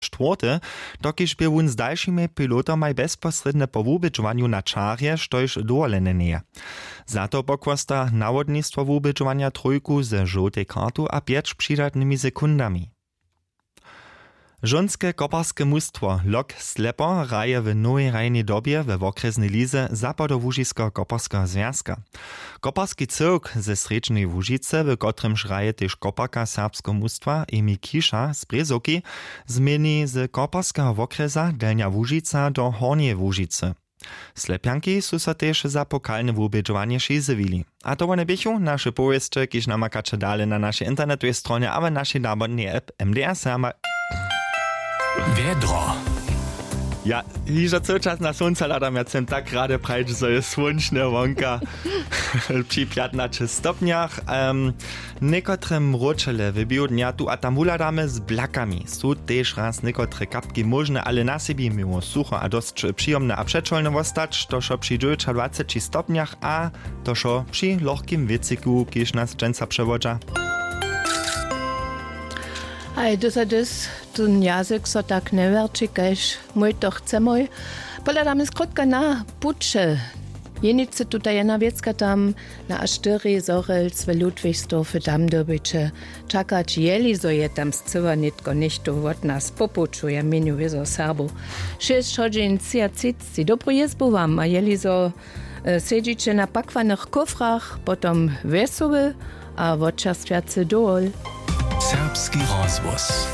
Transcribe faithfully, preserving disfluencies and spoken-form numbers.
štwórty, dokiž bě wón z dalšimi pilotomaj bezposrědnje po wubědźowanju na čarje, štož dowolene njeje. Za to pochłosta nawodnistwo wubědźowanja trójku ze žołtej kartu a pjeć přidatnymi sekundami. Žonske koparske mustwo Lok Slepo hraje w nowej hrajnej dobje we wokrjesnej lize Zapadołužiskeho koparskeho zwjazka. Koparski cyłk ze srjedźneje Łužicy, w kotrymž hraje tež koparka serbskeho mustwa Emi Kiša z Brězowki, změni z koparskeho wokrjesa Delnja Łužica do Hornjeje Łužicy. Slepjanki su so tež za pokalne wubědźowanje přizjewili. A to wone běchu naše powěsće, kiž namakaće dale na našej internetowej stronje abo našej nabodnej app M D R Serbja. Wjedro. Ja, hižo cyły čas na słónca hladam, ja chcem tak rady prajić, zo je słónčne wonka. Při pjatnaće stopnjach. Um, někotre mróčele w běhu dnja tu a tam wuhladamy z blakami. Su tež raz někotre kapki móžne, ale na sebi měło sucho a dosć přijomne a přećolne wostać, to wšo při dźewjećadwaceći stopnjach a to wšo při lochkim wětřiku, kiž nas dźensa přewodźa. Haj, dys a dys, tón jazyk so tak njewerći kaž mój to chcemoj. Pohladamy skrótka na puće. Jenicy tuta jedna wěcka tam na a štyri Zhorjelc w Ludwigsdorfy, tam dyrbiće čakać, jeli zo je tam scyła nětko něchtó wot nas po puću, ja měnju wězo Serbow. Šěsć hodźin třiatřicci. Dobru jězbu wam a jeli zo, e, sedźiće na pakwanych kófrach, potom wjesoły a wotčerstwjacy dowol. Serbski rozhłos.